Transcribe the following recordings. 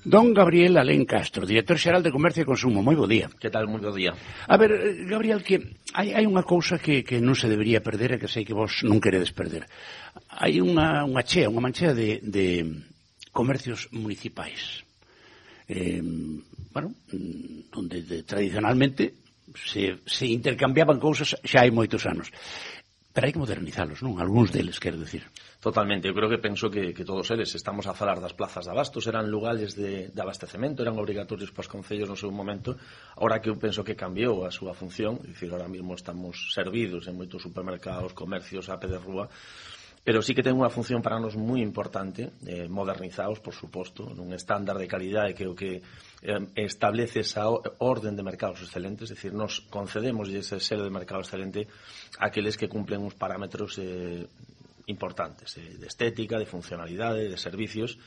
Don Gabriel Alén Castro, director xeral de Comercio e Consumo. Moi bo día. Que tal? Moi bo día. A ver, Gabriel, que hai unha cousa que non se debería perder e que sei que vos non queredes perder. Hai unha manchea de comercios municipais. Onde tradicionalmente se intercambiaban cousas xa hai moitos anos. Pero hai que modernizalos, non? Algúns deles, quero decir. Totalmente, eu creo que penso que todos eles, estamos a falar das plazas de abastos, eran lugares de abastecemento, eran obrigatorios para os concellos no seu momento, ahora que eu penso que cambiou a súa función, é dicir, ahora mesmo estamos servidos en moitos supermercados, comercios, a pé de rúa, pero sí que ten unha función para nos moi importante, modernizados, por suposto, nun estándar de calidade que o que establece esa orden de mercados excelentes, es decir, nos concedemos ese selo de mercado excelente a aqueles que cumplen uns parámetros importantes, de estética, de funcionalidade, de servicios,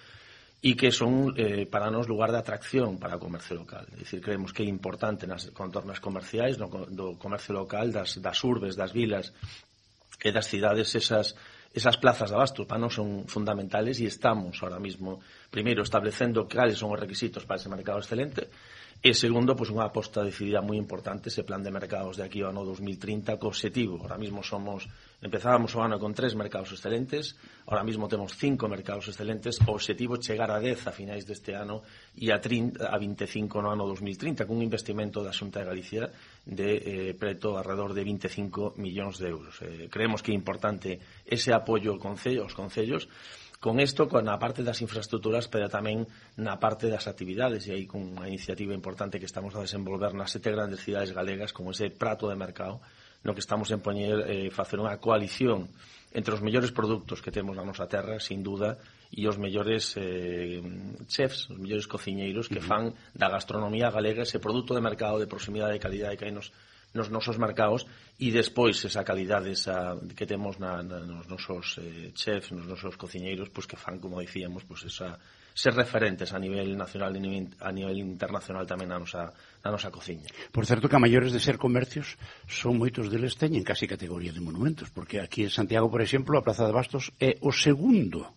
e que son para nos lugar de atracción para o comercio local. É dicir, creemos que é importante nas contornas comerciais, do comercio local, das urbes, das vilas e das cidades, esas plazas de abasto para nós son fundamentales e estamos ahora mismo, primeiro, establecendo cales son os requisitos para ese mercado excelente e, segundo, pues, unha aposta decidida moi importante ese plan de mercados de aquí ao ano 2030 co objetivo. Ahora mismo empezábamos o ano con 3 mercados excelentes, ahora mismo temos 5 mercados excelentes, o objetivo é chegar a 10 a finais deste ano e a 25 no ano 2030 con un investimento da Xunta de Galicia de preto alrededor de 25 millóns de euros. Creemos que é importante ese apoio aos concellos, con isto, na parte das infraestructuras, pero tamén na parte das actividades, e aí con unha iniciativa importante que estamos a desenvolver nas 7 grandes cidades galegas, como ese prato de mercado, no que estamos en facer unha coalición entre os mellores produtos que temos na nosa terra, sin duda, e os mellores chefs, os mellores cociñeiros que fan da gastronomía galega ese produto de mercado de proximidade e calidade que hai nos nosos mercados, e despois esa calidade que temos nos nosos chefs, nos nosos cociñeiros, pues, que fan, como dicíamos, pues, ser referentes a nivel nacional e a nivel internacional tamén na nosa cociña. Por certo que a maiores de ser comercios son moitos deles teñen casi categoría de monumentos, porque aquí en Santiago, por exemplo, a Praza de Bastos é o segundo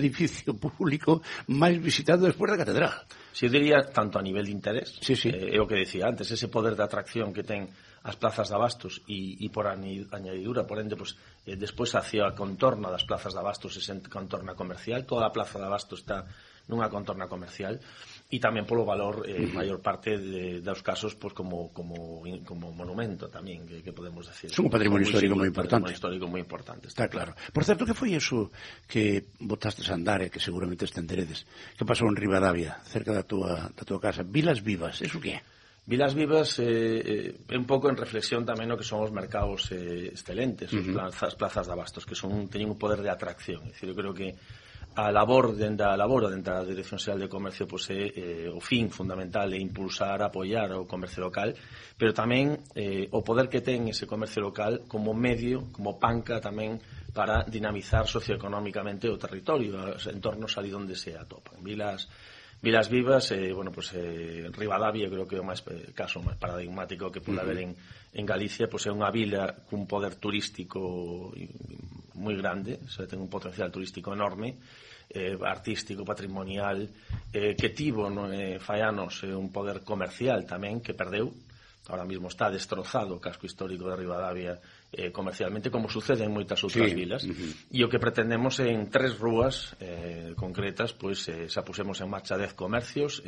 edificio público máis visitado despois da catedral. Si eu diría, tanto a nivel de interés, sí. É o que decía antes, ese poder de atracción que ten as plazas de abastos e por añadidura, por ende, pues, despois hacia a contorna das plazas de abastos, esa contorna comercial, toda a plaza de abastos está nunha contorna comercial, e tamén polo valor, maior parte dos casos, pues, como monumento tamén, que podemos decir. É un patrimonio histórico moi importante. Un patrimonio histórico moi importante. Está claro. Por certo, que foi eso que botastes a andar e que seguramente estenderedes? Que pasou en Ribadavia, cerca da tua casa? Vilas Vivas, eso que é? Vilas Vivas é un pouco en reflexión tamén no que son os mercados excelentes, as plazas de abastos, que teñen un poder de atracción. É dicir, eu creo que a labor dentro da Dirección Xeral de Comercio, pues, o fin fundamental é impulsar, apoiar o comercio local, pero tamén o poder que ten ese comercio local como medio, como panca tamén para dinamizar socioeconómicamente o territorio, os entornos ali onde se atopan. Vilas Vivas, Ribadavia, creo que é o caso máis paradigmático que pode haber en Galicia, pues é unha vila cun poder turístico moi grande, ten un potencial turístico enorme, artístico, patrimonial, que tivo fai anos un poder comercial tamén que perdeu. Ahora mismo está destrozado o casco histórico de Ribadavia comercialmente, como sucede en moitas outras vilas, e o que pretendemos en 3 rúas concretas, pues, xa pusemos en marcha 10 comercios,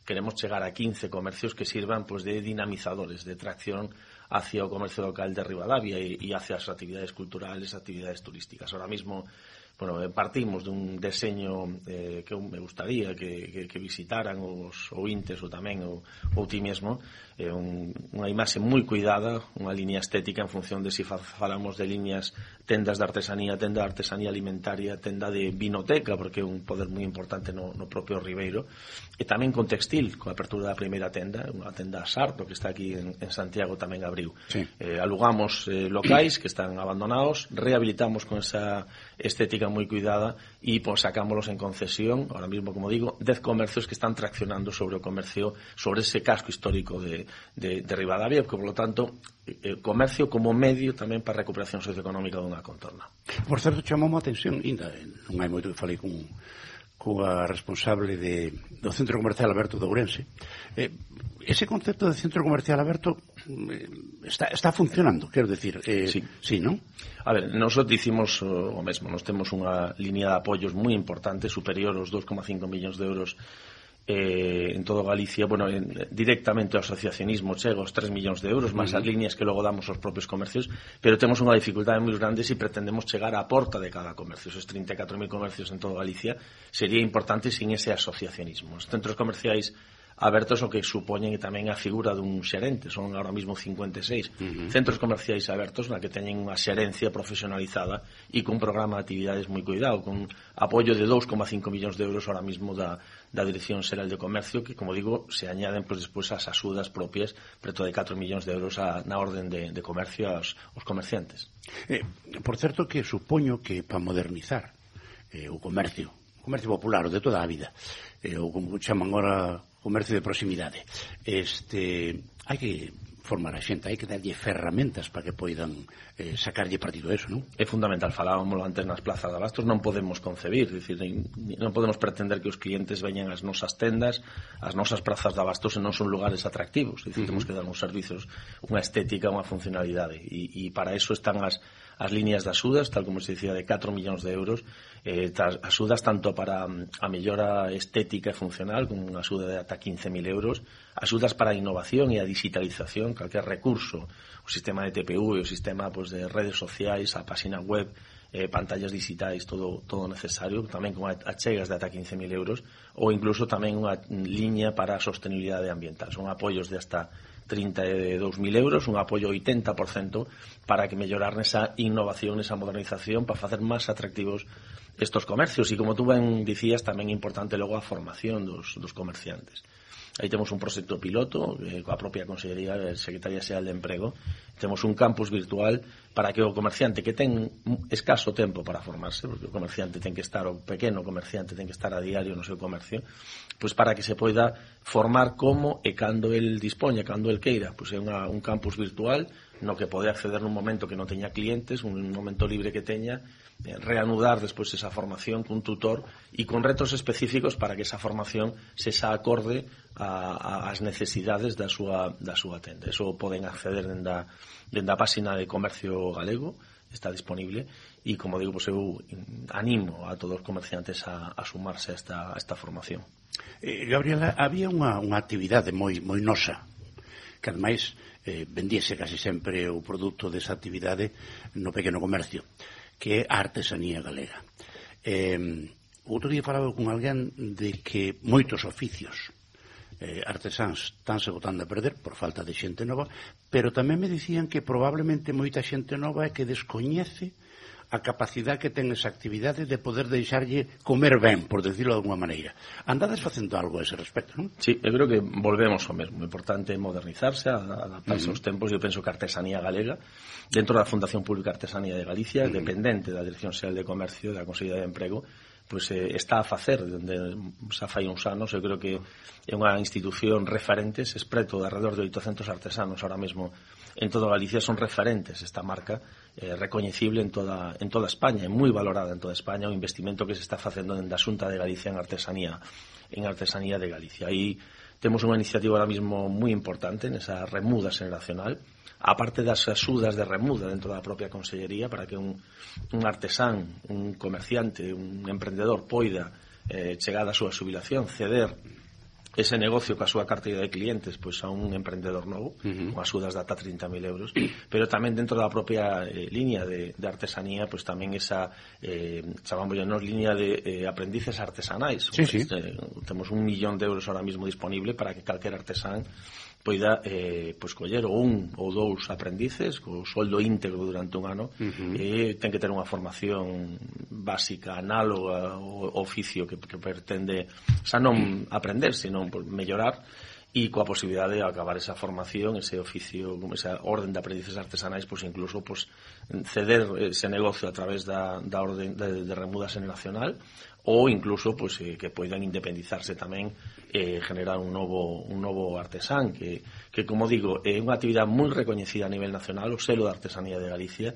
queremos chegar a 15 comercios que sirvan, pues, de dinamizadores, de tracción hacia o comercio local de Ribadavia e hacia as actividades culturales, actividades turísticas. Ahora mismo, partimos dun deseño que eu me gustaría que visitaran os ointes ou tamén ou ti mesmo, unha imaxe moi cuidada, unha liña estética en función de se falamos de liñas tendas de artesanía, tenda de artesanía alimentaria, tenda de vinoteca, porque é un poder moi importante no propio Ribeiro, e tamén con textil, con a apertura da primeira tenda, unha tenda Sarto que está aquí en Santiago tamén abriu. Sí. Alugamos locais que están abandonados, rehabilitamos con esa estética moi cuidada e sacámoslos en concesión. Ahora mismo, como digo, 10 comercios que están traccionando sobre o comercio, sobre ese casco histórico de Ribadavia, que, por lo tanto, comercio como medio tamén para a recuperación socioeconómica dunha contorna. Por certo, chamou a atención, ainda non hai moito que falei con coa responsable do Centro Comercial Aberto de Ourense. Ese concepto de Centro Comercial Aberto está funcionando, quero decir, sí, non? A ver, nosotros dicimos o mesmo, nos temos unha línea de apoios moi importante, superior aos 2,5 millóns de euros en todo Galicia, bueno, directamente ao asociacionismo chega aos 3 millóns de euros, máis as líneas que logo damos aos propios comercios, pero temos unha dificultade moi grande se pretendemos chegar á porta de cada comercio. Esos 34.000 comercios en todo Galicia sería importante sin ese asociacionismo. Os centros comerciais abertos o que supoñen tamén a figura dun xerente, son ahora mismo 56 centros comerciais abertos na que teñen unha xerencia profesionalizada e cun programa de actividades moi cuidado, con apoio de 2,5 millóns de euros ahora mismo da Dirección Xeral de Comercio, que, como digo, se añaden despois as axudas propias, preto de 4 millóns de euros na orden de comercio aos comerciantes. Por certo que supoño que para modernizar o comercio popular, o de toda a vida, ou como chaman agora comercio de proximidade, hai que formar a xente, hai que darlle ferramentas para que poidan sacarlle partido a eso, non? É fundamental, falábamos antes nas plazas de abastos, non podemos concebir, dicir, non podemos pretender que os clientes veñan ás nosas tendas, ás nosas plazas de abastos e non son lugares atractivos, dicir, temos que dar uns servizos, unha estética, unha funcionalidade, e para eso están as líneas de axudas, tal como se dicía, de 4 millóns de euros, axudas tanto para a mellora estética e funcional, con unha axuda de ata 15.000 euros, axudas para a innovación e a digitalización, calquer recurso, o sistema de TPU e o sistema de redes sociais, a página web, pantallas digitais, todo necesario, tamén con achegas de ata 15.000 euros, ou incluso tamén unha liña para a sostenibilidade ambiental. Son apoios de hasta 32.000 euros, un apoio 80% para que mellorar nesa innovación, nesa modernización, para facer máis atractivos estos comercios. E como tú ben dicías, tamén é importante logo a formación dos comerciantes. Aí temos un proxecto piloto coa propia Consellería de Secretaría Xeral de Emprego. Temos un campus virtual para que o comerciante que ten escaso tempo para formarse, porque o comerciante ten que estar, o pequeno comerciante ten que estar a diario no seu comercio, pois para que se poida formar como e cando el dispoña, cando el queira. Pois é un campus virtual no que pode acceder nun momento que non teña clientes, un momento libre que teña, reanudar despois esa formación cun tutor e con retos específicos para que esa formación se xa acorde ás necesidades da súa tenda. Eso poden acceder dende a página de Comercio Galego, está disponible, e como digo, pois eu animo a todos os comerciantes a sumarse a esta formación. Gabriela, había unha actividade moi nosa, que ademais vendíese casi sempre o produto desa actividade no pequeno comercio, que é a artesanía galega. Outro día falaba con alguén de que moitos oficios artesáns estánse botando a perder por falta de xente nova, pero tamén me dicían que probablemente moita xente nova é que descoñece a capacidade que ten esa actividade de poder deixarlle comer ben, por decirlo de alguma maneira. Andades facendo algo a ese respecto, non? Sí, eu creo que volvemos ao mesmo. O importante é modernizarse, adaptarse aos tempos. Eu penso que a artesanía galega, dentro da Fundación Pública Artesanía de Galicia, dependente da Dirección Xeral de Comercio, da Consellería de Emprego, pois está a facer, dende xa fai uns anos. Eu creo que é unha institución referente, se espreto de alrededor de 800 artesanos ahora mesmo en toda Galicia, son referentes esta marca, recoñecible en toda España, é moi valorada en toda España o investimento que se está facendo dende a Xunta de Galicia en artesanía de Galicia. Aí temos unha iniciativa ahora mesmo moi importante nesa remuda xeneracional, aparte das axudas de remuda dentro da propia Consellería, para que un artesán, un comerciante, un emprendedor poida, chegada a súa xubilación, ceder ese negocio coa súa carteira de clientes pois a un emprendedor novo, con axudas de ata 30.000 euros, pero tamén dentro da propia línea de artesanía, pois tamén esa chamamos línea de aprendices artesanais. Sí. Temos 1 millón de euros ahora mismo disponible para que calquer artesán poida pois coller un ou dous aprendices co soldo íntegro durante un ano, e ten que ter unha formación básica análoga ao oficio que pretende xa non aprender, sino mellorar, e coa posibilidade de acabar esa formación, ese oficio, esa orden de aprendices artesanais, pois incluso ceder ese negocio a través da orden de remuda xeneracional, ou incluso pues, que poidan independizarse tamén generar un novo artesán que como digo, é unha actividade moi recoñecida a nivel nacional, o selo de artesanía de Galicia,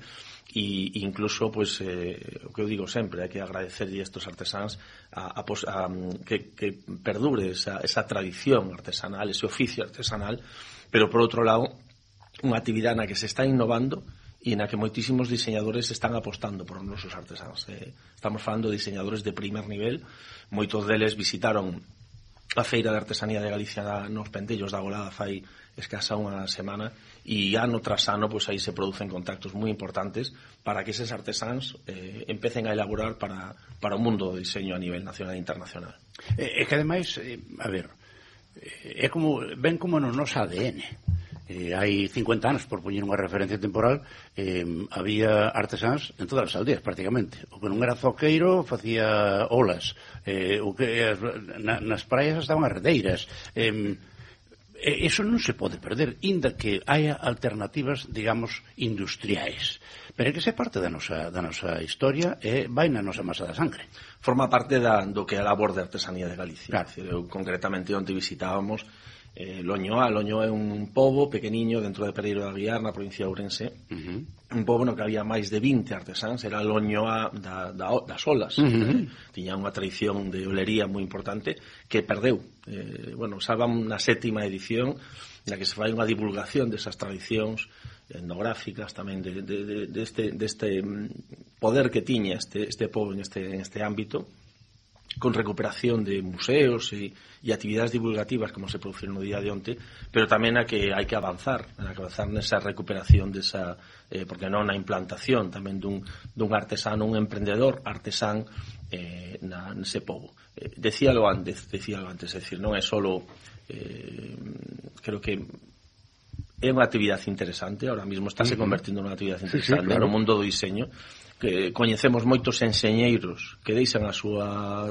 e incluso pues, o que eu digo sempre, hai que agradecerlle a estos artesáns que perdure esa tradición artesanal, ese oficio artesanal, pero por outro lado unha actividade na que se está innovando e na que moitísimos diseñadores están apostando por os nosos artesáns. Estamos falando de diseñadores de primer nivel, moitos deles visitaron a Feira de Artesanía de Galicia nos Pentellos da Golada fai escasa unha semana, e ano tras ano pues, aí se producen contactos moi importantes para que eses artesáns empecen a elaborar para o mundo do diseño a nivel nacional e internacional. É que ademais, a ver, é como, ven como no noso ADN. Hai 50 anos, por poñer unha referencia temporal, había artesáns en todas as aldeas, prácticamente. O que non era zoqueiro facía olas, o que nas praias estaban as redeiras. Eso non se pode perder, inda que haya alternativas, digamos, industriais. Pero é que esa parte da nosa historia vai na nosa masa da sangre. Forma parte do que é a labor de artesanía de Galicia. Claro. Decir, concretamente, onde visitábamos Loñoa. Loñoa é un pobo pequeniño dentro de Pereiro de Aguiar, na provincia de Ourense. Un pobo no que había máis de 20 artesáns. Era Loñoa das olas. Tiña unha tradición de olería moi importante que perdeu. Salvan na 7ª edición na que se fai unha divulgación desas tradicións etnográficas tamén deste poder que tiña este pobo en este ámbito, con recuperación de museos e actividades divulgativas como se produciron no día de onte, pero tamén hai que avanzar nesa recuperación desa, porque non na implantación tamén dun artesano, un emprendedor artesán nese pobo. Decíalo antes, é dicir, non é solo creo que é unha actividade interesante, ahora mesmo estáse convertindo nunha actividade interesante no mundo do diseño, que coñecemos moitos enxeñeiros que deixan a súa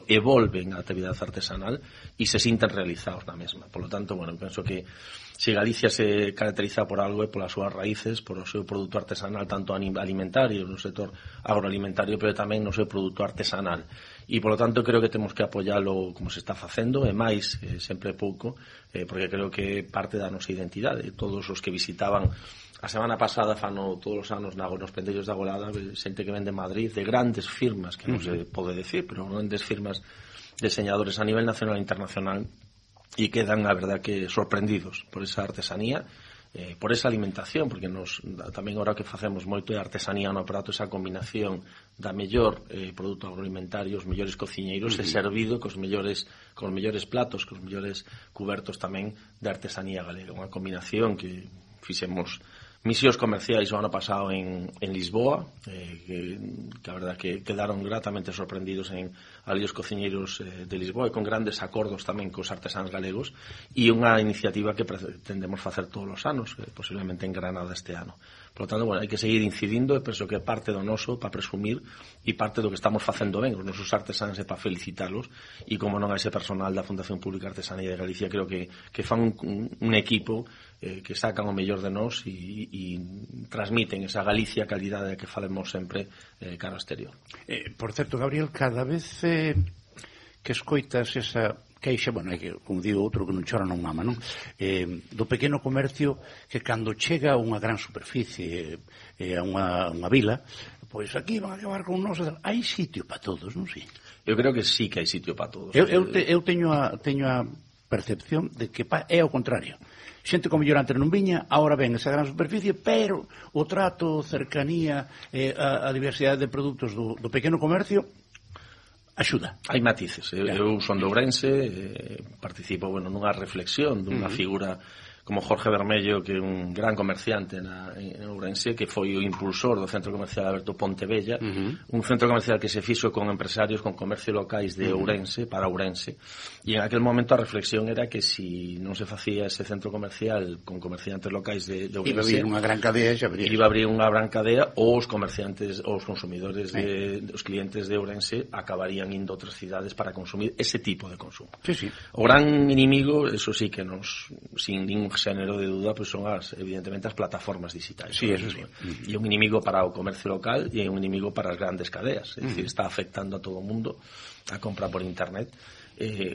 e volven a actividade artesanal e se sinten realizados na mesma. Por lo tanto, penso que se Galicia se caracteriza por algo é polas súas raíces, por o seu produto artesanal, tanto alimentario, no sector agroalimentario, pero tamén no seu produto artesanal. E, por lo tanto, creo que temos que apoialo como se está facendo, e máis, sempre pouco, porque creo que parte da nosa identidade. Todos os que visitaban a semana pasada, fano todos os anos nos Pentellos da Golada, xente que ven de Madrid, de grandes firmas, que non se pode decir, pero grandes firmas diseñadores a nivel nacional e internacional, e quedan, a verdad, que sorprendidos por esa artesanía, por esa alimentación, porque tamén ahora que facemos moito de artesanía no prato, esa combinación da mellor produto agroalimentario, os mellores cociñeiros, e servido cos mellores platos, cos mellores cubertos tamén de artesanía galega. Unha combinación que fixemos misións comerciais o ano pasado en Lisboa, que a verdad que quedaron gratamente sorprendidos ali os cociñeiros de Lisboa, e con grandes acordos tamén cos artesáns galegos, e unha iniciativa que pretendemos facer todos os anos, posiblemente en Granada este ano. Por lo tanto, hai que seguir incidindo, e penso que parte do noso para presumir e parte do que estamos facendo ben os nosos artesáns é para felicitalos, e como non a ese personal da Fundación Pública Artesanía de Galicia, creo que fan un equipo que sacan o mellor de nós e transmiten esa Galicia calidade que falemos sempre cara ao exterior. Por certo, Gabriel, cada vez que escoitas esa queixa, como digo outro que non chora non mama, non? Do pequeno comercio que cando chega a unha gran superficie, a unha vila, pois aquí van a acabar con nós, hai sitio para todos, non sei? Eu creo que sí que hai sitio para todos. Eu teño a percepción de que é ao contrario. Xente como mellor antes non viña, agora ven esa gran superficie, pero o trato, cercanía, a diversidade de produtos do pequeno comercio axuda. Hai matices. Eu son de Ourense, participo nunha reflexión dunha figura como Jorge Bermello, que é un gran comerciante en Ourense, que foi o impulsor do Centro Comercial Alberto Pontevella, un centro comercial que se fixo con empresarios, con comercio locais de Ourense, para Ourense, e en aquel momento a reflexión era que si non se facía ese centro comercial con comerciantes locais de Ourense, iba a abrir unha gran cadea, iba a abrir unha gran cadea, ou os comerciantes, ou os consumidores, os clientes de Ourense acabarían indo a outras cidades para consumir ese tipo de consumo. Sí. O gran inimigo, eso sí que nos, sin ningún xénero de duda, pois son evidentemente as plataformas digitais. Sí, eso sí. E un inimigo para o comercio local e un inimigo para as grandes cadeas. É dicir, está afectando a todo o mundo a compra por internet.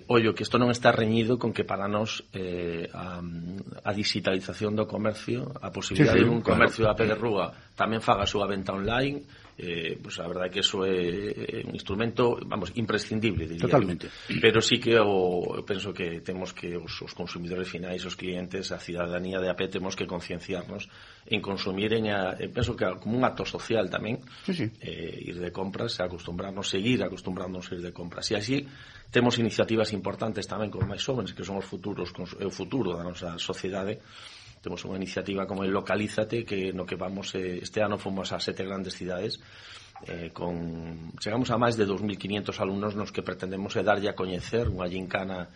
Ollo, que isto non está reñido con que para nós a digitalización do comercio, a posibilidade de un comercio a pé de rúa tamén faga a súa venta online, pues a verdade é que eso é un instrumento, vamos, imprescindible, diría. Totalmente. Pero sí que eu penso que temos que os consumidores finais, os clientes, a cidadanía de a pé, temos que concienciarnos en consumir penso que como un acto social tamén, ir de compras, seguir acostumbrarnos a ir de compras. E así temos iniciativas importantes tamén con máis jóvenes, que son o futuro da nosa sociedade. Temos unha iniciativa como el Localízate, que no que vamos, este ano fomos a 7 grandes cidades, chegamos a máis de 2.500 alumnos nos que pretendemos darlle a coñecer unha xincana,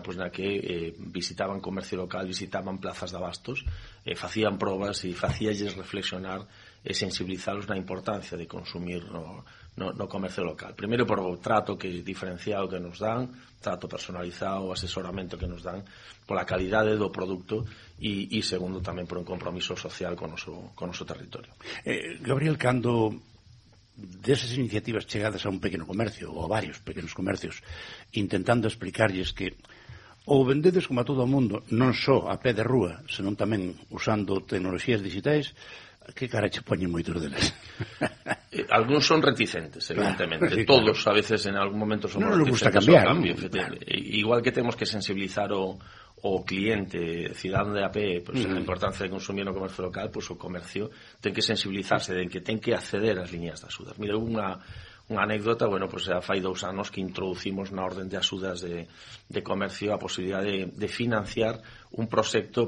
pois na que visitaban comercio local, visitaban plazas de abastos, facían probas e facíalles reflexionar e sensibilizalos na importancia de consumir no comercio local. Primeiro por o trato diferenciado que nos dan, trato personalizado, o asesoramento que nos dan, pola calidade do produto e segundo tamén por un compromiso social con o noso territorio. Gabriel, cando desas iniciativas chegadas a un pequeno comercio ou a varios pequenos comercios, intentando explicarlles que ou vendedes como a todo o mundo, non só a pé de rúa, senón tamén usando tecnoloxías digitais, que cara che poñen moitos deles? Algúns son reticentes, evidentemente. Claro, todos, a veces, en algún momento somos reticentes cambiar, ao cambio. Claro. Igual que temos que sensibilizar o cliente, cidadano de a pé, pues, a importancia de consumir no comercio local, pues o comercio ten que sensibilizarse de que ten que acceder ás liñas de axudas. Mira, unha anécdota, bueno, pues xa fai 2 anos que introducimos na orden de axudas de comercio a posibilidade de financiar un proxecto